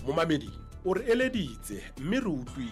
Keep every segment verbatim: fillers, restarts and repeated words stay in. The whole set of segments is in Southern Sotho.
Momamedi o re eleditse mme re utlwile.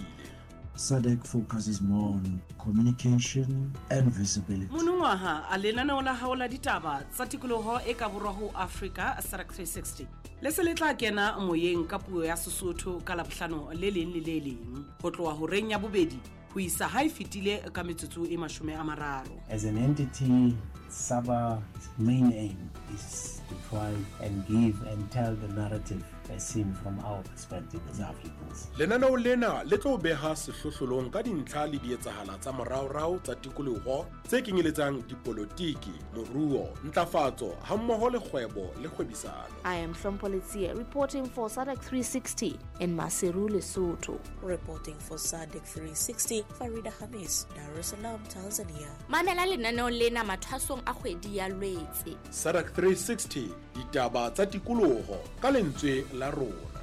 S A D C focuses more on communication and visibility. Monongwaha a lenaneo la hao la ditaba tsa tikoloho e ka borwa ho Afrika, S A D C three sixty, le se le tla kena moyeng ka puo ya Sesotho ka Labohlano le leng le le leng ho tloha horeng ya bobedi ho isa ha e fetile ka metsotso e mashome a mararo. As an entity, SABA's main aim is to try and give and tell the narrative as seen from our perspective as Africans. Lenaneo lena le tlo beha sehlohlolong ka dintlha le dietsahala tsa moraorao tsa tikoloho tse kenyeletsang dipolotiki, moruo, ntlafatso hammoho le kgwebo le kgwebisano. I am Hlompho Letsie reporting for S A D C three sixty in Maseru, Lesotho. Reporting for S A D C three sixty, Farida Hamis, Dar es Salaam, Tanzania. Mamela lenaneo lena mathwasong a kgwedi ya Lwetse. S A D C three sixty, ditaba tsa tikoloho ka lentswe la rona.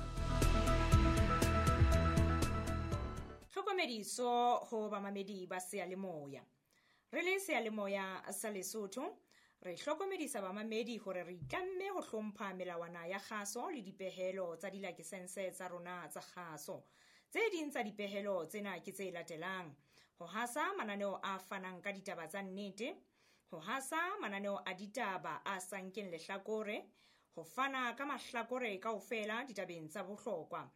Tlhokomediso ho bamamedi ba seyalemoya. Re le seyalemoya sa Lesotho, re hlokomedisa bamamedi hore re itlamme ho hlompha melawana ya kgaso le dipehelo tsa dilakesense tsa rona tsa kgaso. Tse ding tsa dipehelo tsena ke tse latelang: ho hasa mananeo a fanang ka ditaba tsa nnete, ho hasa mananeo a ditaba a sa nkeng lehlakore, ho fana ka mahlakore kaofela ditabeng tsa bohlokwa,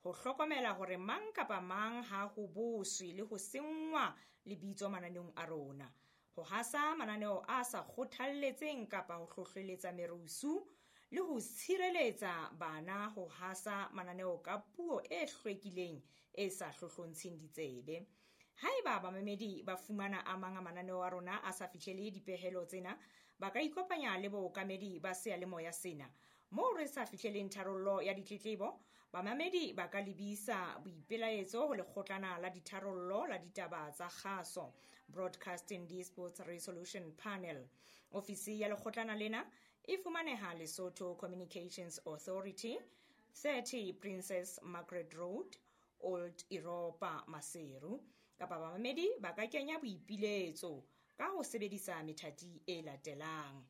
ho hlokomela hore mang kapa mang ha ho boswe le ho senngwa lebitso mananeong a rona, ho hasa mananeo a sa kgothalletseng kapa ho hlohleletsa merusu, le ho tshireletsa bana, ho hasa mananeo ka puo e hlwekileng e sa hlohlontsheng ditsebe. Haeba bamamedi ba fumana a mang a mananeo a rona a sa fihlele dipehelo tsena, ba ka ikopanya le bookamedi ba seyalemoya sena. Moo re sa fihleleng tharollo ya ditletlebo, bamamedi ba ka lebisa boipelaetso ho lekgotlana la ditharollo la ditaba tsa kgaso, Broadcasting Disputes Resolution Panel. Ofisi ya lekgotlana lena e fumaneha Lesotho Communications Authority, thirty Princess Margaret Road, Old Europa, Maseru. Kapa bamamedi ba ka kenya boipiletso ka ho sebedisa methati e latelang: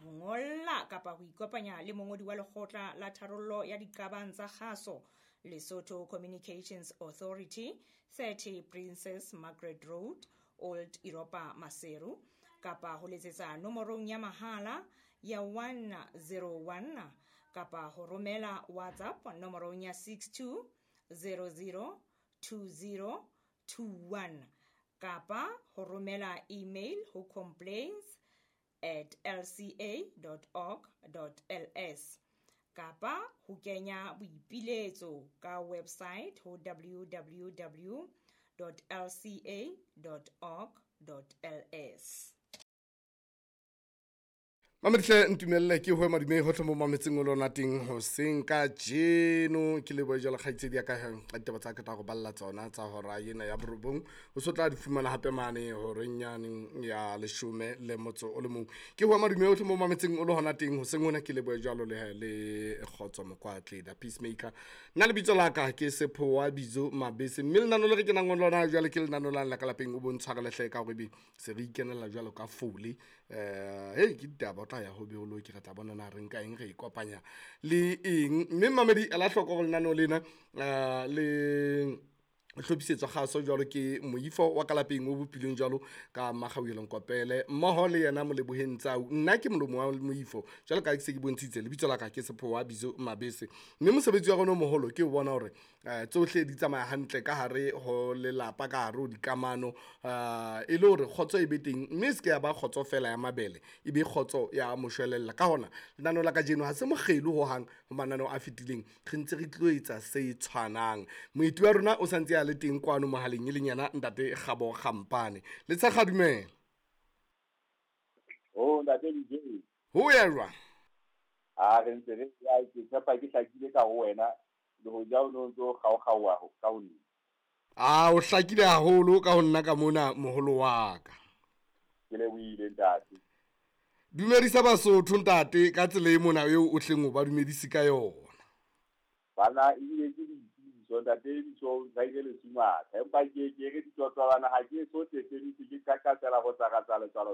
ho ngolla kapa ho ikopanya le mongodi wa lekgotla la tharollo ya diqabang tsa kgaso, Lesotho Communications Authority, thirty Princess Margaret Road, Old Europa, Maseru, kapa ho letsetsa nomorong ya mahala ya one zero one, kapa ho romela WhatsApp nomorong ya six two zero zero two zero two one, kapa ho romela email ho complaints at lca dot org dot L S, kapa ho kenya boipiletso ka website ho W W W dot L C A dot org dot L S. Mamedihle, ntumelle ke hoe madume hohle mo mametseng o lona teng hoseng ka jeno. Ke lebohe jwalo kgaitsedi ya ka ka ditaba tsa ka tla go balla tsona tsa hora ena ya borobong. O so tla di fumana hape mane horeng yane ya leshome le motso o le mong. Ke hoe madume hohle mo mametseng o le hona teng hoseng hona. Ke lebohe jwalo le le Kgotso Mokwatle, the peacemaker. Nna lebitso la ka ke Sephowa Bizo Mabese, mme lenano le re kenang ho lona jwale ke lenano la la ka lapeng. O bontshwarele hle ka hore ebe se re ikenela jwalo ka fole. eh hey ke ditaba o tla ya ho beolo ke re tla bona na re nka eng, re ikopanya le eng. Mme mamedi, ela hloko hore lenaneo lena eh, le hlophisetswa kgaso jwalo ke moifo wa ka lapeng o bopilweng jwalo ka Makgauelong Kopele mmoho le yena Moleboheng Tsau. Nna ke molomo wa moifo jwalo ka ke se ke bontshitse. Lebitso la ka ke Sephowa Bizo Mabese, mme mosebetsi wa rona o moholo ke ho bona hore eh, tsohle di tsamaya hantle ka hare ho lelapa, ka hare ho dikamano, eh, e le hore kgotso e be teng, mme e se ke ya ba kgotso fela ya mabele, e be kgotso ya moshwelella. Ka hona lenaneo la kajeno ha se mokgelo hohang ho mananeo a fetileng, re ntse re tlo etsa se tshwanang. Moeti wa rona o santse a le teng kwano mohaleng, e leng yena ntate Kgabo Kgampane le Tshekga. Dumela. Oh, ntate D J. Ho ya jwang? A re ntse re ya, ke tshepa ke hlakile ka ho wena le ho ja o no ntso kgaokgaoa ka ho nna. A o hlakile haholo ka ho nna ka mona, moholo wa ka. Ke lebohile, ntate. Dumedisa Basotho, ntate, ka tsela e mona eo o hleng o ba dumedise ka yona. Bana ebile ke ditsebiso, ntate bitso Zaire Lesumatha, empa ke ke re ditotolwana ha ke so teseditse, ke qaqatsela ho tsaka tsa letswalo.